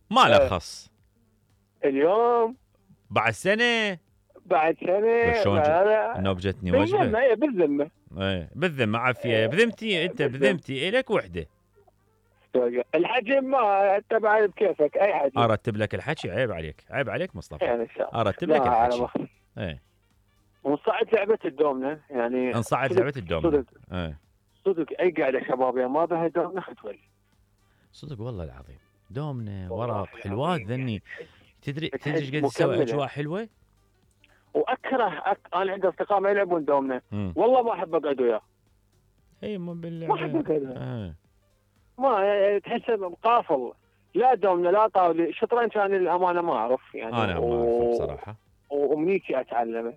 ما له خص اليوم بعد سنه شلون النوب جتني وجبه بالذمه بالذمه عافيه بذمتي انت بذمتي الك وحده. الحجم ما تبع بكيفك اي حجم. ارتب لك الحكي. عيب عليك مصطفى. يعني ارتب لك الحكي. ونصعد لعبه الدومنه يعني. نصعد لعبه الدومنه صدق اي قاعده شبابيه ما بها دومنه ختول. صدق والله العظيم دومنه ورق حلوات ذني. تدري قد تسوي اجواء حلوه. واكره انا عندي اصدقاء ما يلعبون دومنه والله ما احب اقعد وياه. اي ما بالله ما احب اقعد ما تحسه قافل. لا دومنه لا طاولي شطرنج كان الامانه ما اعرف يعني. انا ما اعرفه بصراحه وامنيتي اتعلمه.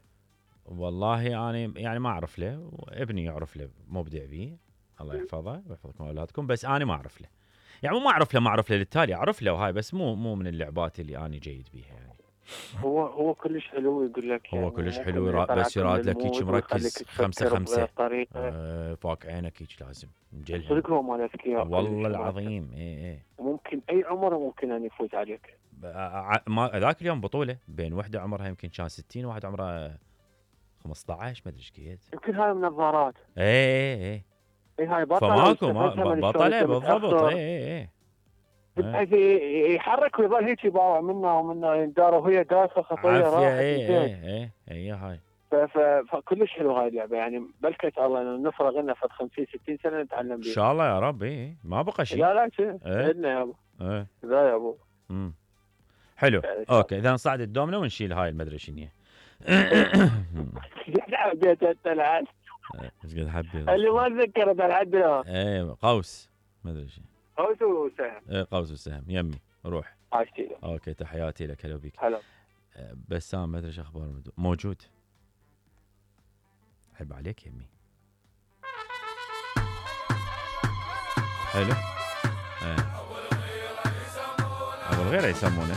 والله انا يعني ما اعرف له وابني يعرف له مبدع به الله يحفظه ويحفظكم اولادكم بس انا ما اعرف له. يعني ما اعرف له للتالي اعرف له وهاي بس مو من اللعبات اللي انا جيد بيها يعني. هو كلش حلو يقول لك يعني هو كلش حلو بس يراد لك هيك مركز 5 فاك عينك هيك لازم مجلها. صدق هو مال اذكياء والله العظيم. اي ممكن اي عمر ممكن ان يفوز عليك. ما ذاك اليوم بطوله بين وحده عمرها يمكن كان 60 وواحد عمره 15 ما ادري ايش قد. يمكن هاي منظارات. اي هاي بطله فماكو بطله بالضبط. اي بحيث يحرك ويظل هيك يباوع منا ومنا يندار وهي داخله خطيه راحت. اي هاي فكلش حلو هاي اللعبه يعني. بلكت الله نفرغ لنا فد 50 60 سنه نتعلم بيها ان شاء الله يا رب. ما بقى شيء. لا عندنا يا ابو. لا يا ابو. حلو اوكي اذا نصعد الدومنه ونشيل هاي المدري شنو هي. حبيت انت العاد ايش قد حبيت اللي ما تذكرت الحد الان. قوس ما ادري شيء. قوس وسهم. قوس وسهم يمي روح. عاشتي. اوكي تحياتي لك هلا بك. هلا. بسام ما ادري ايش اخبار موجود. عيب عليك يمي. حلو. ابو الغيره يسمونه